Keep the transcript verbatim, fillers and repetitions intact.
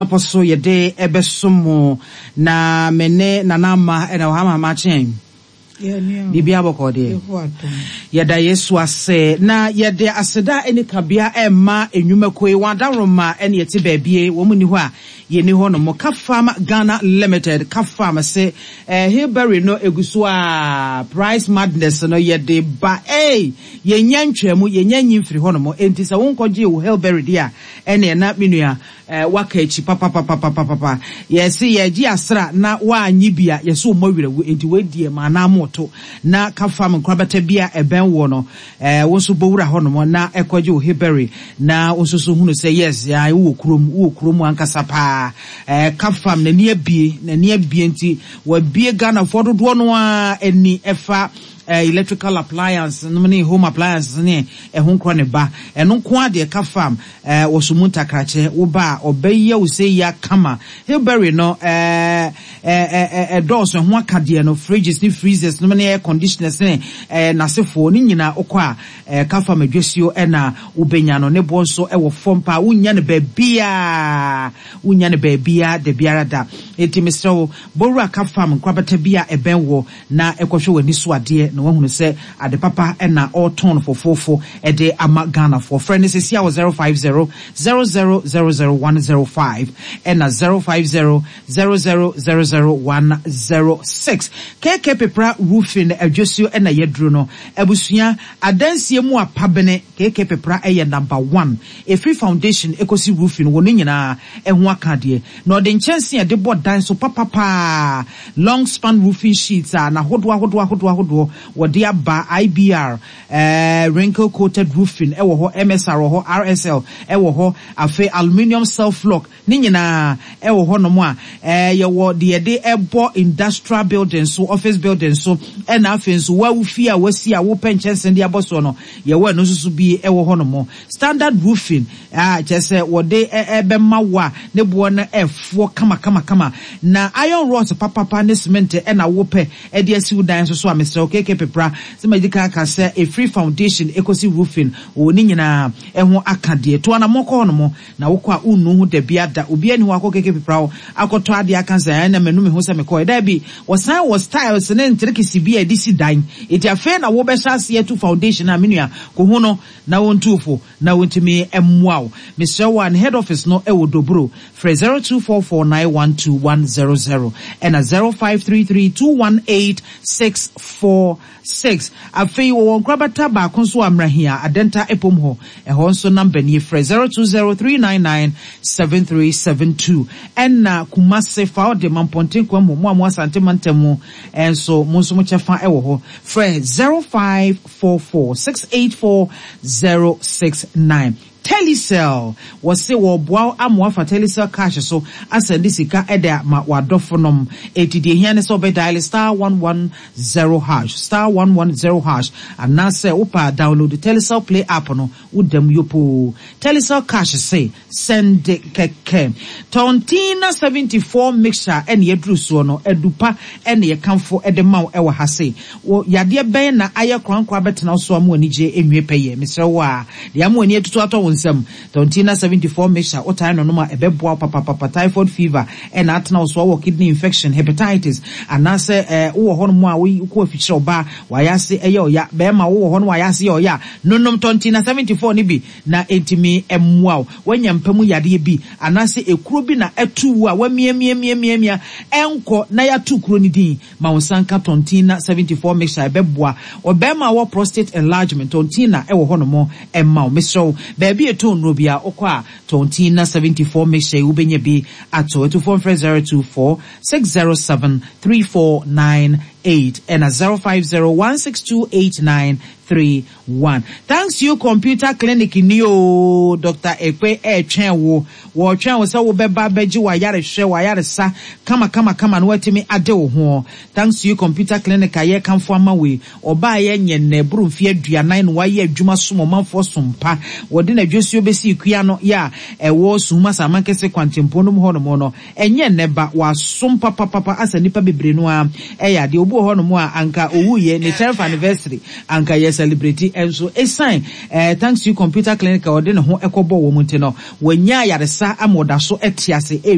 Kwantempɔ so yɛde ɛbɛsom mo na me ne Nana Ama ɛna wɔ ha ma ama akyɛn. Biribi abɔkɔ deɛ, yɛda Yesu ase na yɛde aseda ne kabea ɛma nnwumakuo yi wɔn adaworoma ɛne yɛte baabie wɔn mu ni hɔ a yɛni hɔ nom. Kafam Ghana Limited, Kafam se eh, Hillberry no egu so a price madness no yɛde ba. Ei, yɛnya ntwamu, yɛnya nyi mfiri hɔ nom. Enti sɛ wonkɔgye wo Hillberry deɛ a, ɛne ɛna me nua eh, waka akyi papapapapapa. Yɛse yɛgye asra na woanyi bi a, yɛsɛ ɔmmɔ werɛwu. Enti woadie ma anaa moto na Kafam nkorabata bi a ɛbɛn wɔ no, eh, wo nso bɔwura hɔ nom na ɛkɔgye wo Hillberry na wo nso so hunu sɛ yes, ya wowɔ kurom, wowɔ kurom ankasa paa. eh, Kafam n'ani abie, n'ani abie, nti wabie Ghanafoɔ dodoɔ no a ani ɛfa eh, electrical appliance nom ne home appliances ne ɛho nkorɔ ne ba. Ɛno nko adeɛ Kafam eh, wɔso mu ntakrakyɛ wo ba a ɔbɛyɛ wo sɛ yia kama. Hillberry no eh, eh, ɛdɔɔso, ɛho akadeɛ no, fridges ne freezers nom ne air conditioners ne eh, n'asefoɔ ne nyinaa. Wokɔ a eh, Kafam adwasuo ɛna wobɛnya no. Ne boɔ nso ɛwɔ fam paa, wonya no baabiaa, wonya no baabiaa da biara da. Enti mesrɛ wo, bɔwura Kafam nkorabata bi a ɛbɛn wɔ na ɛkɔhwɛ w'ani so adeɛ na wahunu sɛ ade papa ɛna ɔretɔn no fofoofo ɛde ama Ghanafoɔ. Frɛ no sɛsi a wɔ zero five zero zero zero zero zero one zero five ɛna zero five zero zero zero zero zero one zero six. K K Pepra Roofing adwasuo ɛna yɛduro no. Abusua adansie mu apabene, K K Pepra ɛyɛ number one. Ɛfiri foundation ɛkɔsi roofing wɔ ne nyinaa ɛho aka adeɛ na ɔde nkyɛnsee a ɛde bɔ dan so papapaa, long span roofing sheets a n'ahodoɔ ahodoɔ ahodoɔ ahodoɔ wɔde aba, I B R, eh, wrinkle coated roofing ɛwɔ hɔ, M S R wɔ hɔ, R S L ɛwɔ hɔ, afei aluminium self lock ne nyinaa ɛwɔ hɔ nom a ɛɛ yɛwɔ deɛ yɛde ɛbɔ industrial building so, office building so, ɛna afei nso wawu fie a wasi a wopɛ nkyɛnsee de abɔ soɔ no, yɛwɔ ɛno nso so bi ɛwɔ hɔ nom. Standard roofing a kyerɛ sɛ wɔde ɛbɛma wo a ne boɔ no ɛfoɔ kamakamakama na iron rods papapa ne cement ɛna wopɛ ɛde asi wo dan nso so a, mesrɛ wo, K K Pepra sɛ magye ka aka sɛ ɛfiri foundation ɛkɔsi roofing wɔ ne nyinaa ɛho aka deɛ to anammɔ kɔ hɔ nom na wokɔ a wonnu ho da bi ada. Obi ani hɔ akɔ K K Pepra hɔ akɔtɔ adeɛ aka sɛ ɛna manu me ho sɛ mekɔɛ daabi. Wɔsan wɔ styles ne nterekesi bi a ɛde si dan. Eti afei na wobɛhyɛ aseɛ to foundation a, me nua, kɔ no na wɔntu fo na wɔntumi mmoa wo. Mesrɛ wo a, ne head office no ɛwɔ Dobro. Frɛ zero two four four nine one two one zero zero ɛna zero five three three two one eight six four six. Afei wɔwɔ nkorabata baako nso wɔ Amrahia Adenta Epom hɔ. Ɛhɔ nso number nie, frɛ zero two zero three nine nine seven three seven two. Ɛna Kumase fa ɔde Mampɔnten kwan mu, mo a mo Asante mantam mu ɛnso, mo nso mo kyɛfa ɛwɔ hɔ, frɛ zero five four four six eight four zero six nine. Telecel wɔse wɔboa ama wafa Telecel Cash so asɛnde sika ɛde ama wadɔfo nom. Eti deɛ hia ne sɛ ɔbɛ dial star one one zero hash, star one one zero hash, anaasɛ wopa download Telecel Play app no, wodam yopoo. Telecel Cash se sɛnde kɛkɛ. Tɔntina seventy four mixture ɛne yɛduru soɔ no, adupa ɛne yɛkamfo ɛde ma wo ɛwɔ ha se wɔ yadeɛ bɛn na ayɛ korankora bɛtena so ama anigye enwie pɛyɛ. Mesrɛ wo a, deɛ ama ani atutu atɔ wo nsam, Tɔntina seventy four mixture, wotae no nom a, ɛbɛboa wo papapapa. Typhoid fever ɛna atena wo so, wɔ kidney infection, hepatitis, anaasɛ ɛɛ wowɔ hɔ nom a wokɔ afikyerɛ, ɔbaa wayɛ ase ɛyɛ ɔya, bɛrima wowɔ hɔ no wayɛ ase yɛ ɔya, nonom Tɔntina seventy four no bi na ɛntumi ɛmmoa wo. Wanya mpamu yadeɛ bi anaasɛ ekuro bi na ɛtu wo a wamiamiamiamiamia ɛnkɔ na yɛato kuro no din ma wo nsa nka Tɔntina seventy four mixture, ɛbɛboa. Ɔbɛrima a wɔ prostate enlargement, Tɔntina ɛwɔ hɔ nom ɛma wo. Mesrɛ wo, baabi ɛtɔ nnuro bi a wokɔ a, Tɔntina seventy four mixture yi wobɛnya bi ato. Ɛtufoɔ mfrɛ zero two four six zero seven three four nine eight ɛna zero five zero one six two eight nine three one. Thanks You Computer Clinic ni o. Doctor Ekpe ɛɛtwɛn wo, wɔɔtwɛn wo sɛ wobɛba bɛgye wayarehwɛ, wayaresa kama kama kama na watumi ade wo ho. Thanks You Computer Clinic a yɛkamfo ama wei, ɔbaa yɛ nyɛ nnɛ boro mfe aduanan na wayɛ adwuma som ɔmanfoɔ som pa. Wɔde n'adwasuo bɛsi kua no yɛ a ɛwɔ Suhum Asamankese kwantempɔn no mu hɔ nom no, ɛnyɛ nnɛ ba wasom papapapa asa nnipa bebree no a ɛyɛ adeɛ. Obi wɔ hɔ nom a anka owuyɛ ne tenth anniversary anka yɛ celebrate, ɛnso ɛsan ɛɛ Thanks You Computer Clinic a ɔde ne ho ɛkɔbɔ wɔn ti no, wɔnya ayaresa ama ɔda so ɛte ase.